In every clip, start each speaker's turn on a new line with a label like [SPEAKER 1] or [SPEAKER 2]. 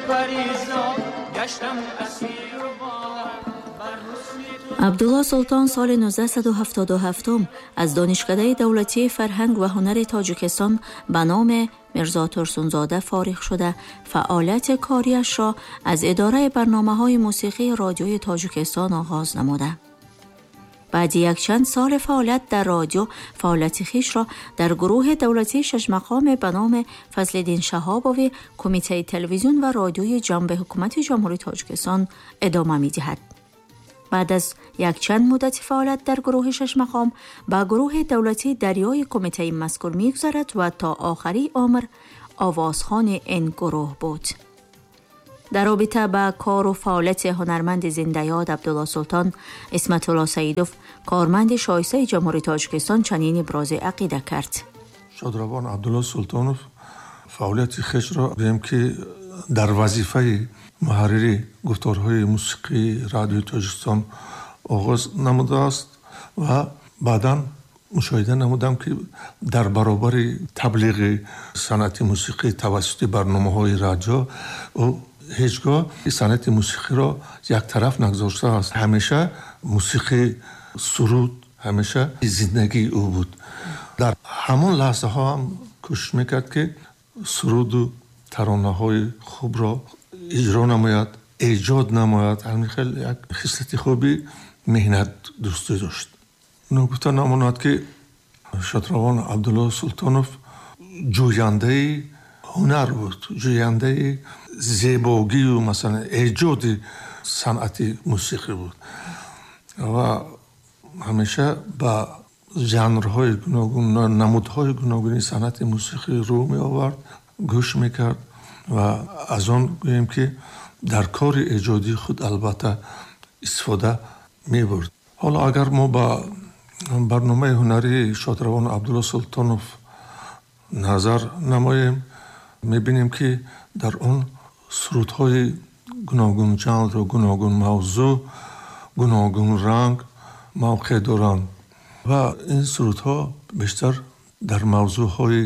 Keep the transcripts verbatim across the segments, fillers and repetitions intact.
[SPEAKER 1] پریزاد گشتم اسیر و باور.
[SPEAKER 2] Абдулло Султон соли нуздаҳсаду ҳафтоду ҳафтум аз Донишкадаи давлатии фарҳанг ва ҳунари Тоҷикистон ба номи Мирзо Турсунзода фориғ шуда, фаъолияти кориашро аз идораи барномаҳои мусиқии Радиои Тоҷикистон оғоз намуда. Баъди якчанд соли фаъолият дар радио, фаъолияти хишро дар гурӯҳи давлатии шашмақоме ба номи Фазлиддин Шаҳобови Кумитаи телевизион ва радиои ҷанби ҳукумати Ҷумҳурии Тоҷикистон идома медиҳад. Баъд аз якчанд муддати фаъолият дар гурӯҳи шашмақом ба гурӯҳи давлатии дарёи кумитаи мазкур мегузарад ва то охари умр овозхони ин гурӯҳ буд. Дар робита ба кору фаъолияти ҳунарманди зиндаёд Абдулло Султон, Исматулло Саидов, корманди шоистаи Ҷумҳурии Тоҷикистон, чунин ибрози ақида кард.
[SPEAKER 3] Шодравон Абдулло Султонов фаъолияти хешро, гӯем ки, дар вазифаи муҳаррири гуфторҳои мусиқии Радиои Тоҷикистон оғоз намудааст ва баъдан мушоҳида намудам, ки дар баробари таблиғи санъати мусиқӣ тавассути барномаҳои радио, ӯ ҳеҷ гоҳ санъати мусиқиро яктараф нагузоштааст. Ҳамеша мусиқӣ, суруд ҳамеша зиндагии ӯ буд. Дар ҳамон лаҳзаҳо ҳам кӯшиш мекард, ки суруду таронаҳои хубро иҷро намояд, эҷод намояд. Ҳамин хел як хислати хуби меҳнатдӯстӣ дошт. Ногуфта намонад, ки шодравон Абдулло Султонов ҷӯяндаи ҳунар буд, ҷӯяндаи зебогию, масалан, эҷоди санъати мусиқӣ буд ва ҳамеша ба жанрҳои гуногун, намудҳои гуногуни санъати мусиқӣ рӯ меовард, гӯш мекард ва аз он, гӯем ки, дар кори эҷодии худ албатта истифода мебурд. Ҳоло агар мо ба барномаи ҳунарии шодравон Абдулло Султонов назар намоем, мебинем, ки дар он сурудҳои гуногунжанру гуногунмавзӯъ, гуногунранг мавқеъ доранд ва ин сурудҳо бештар дар мавзӯъҳои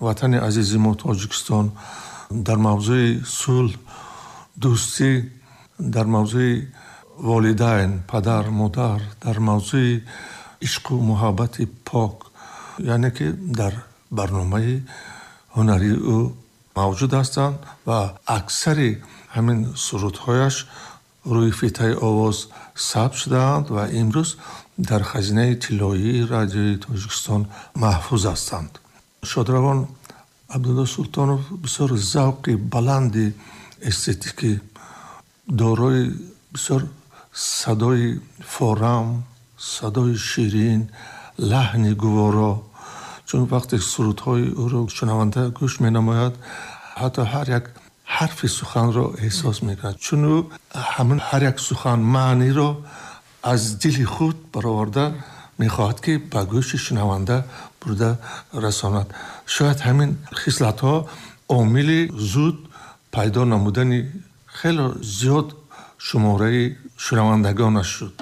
[SPEAKER 3] ватани азизи мо Тоҷикистон, дар мавзӯи сулҳ, дӯстӣ, дар мавзӯи волидайн, падар, модар, дар мавзӯи ишқу муҳаббати пок, яъне ки дар барномаи ҳунарии ӯ мавҷуд ҳастанд ва аксари ҳамин сурудҳояш рӯи фитаи овоз сабт шудаанд ва имрӯз дар хазинаи тиллоии Радиои Тоҷикистон маҳфуз ҳастанд. Шодравон Абдулло Султонов бисёр завқи баланди эстетикӣ, дорои бисёр садои форам, садои ширин, лаҳни гуворо, чун вақте сурудҳои ӯро шунаванда гӯш менамояд, ҳатто ҳар як ҳарфи суханро эҳсос мекунад, чун ӯ ҳамин ҳар як сухан маъниро аз дили худ бароварда мехоҳад, ки ба гӯши шунаванда бурда расонад. Шояд ҳамин хислатҳо омили зуд пайдо намудани хеле зиёд шумораи шунавандагонаш шуд.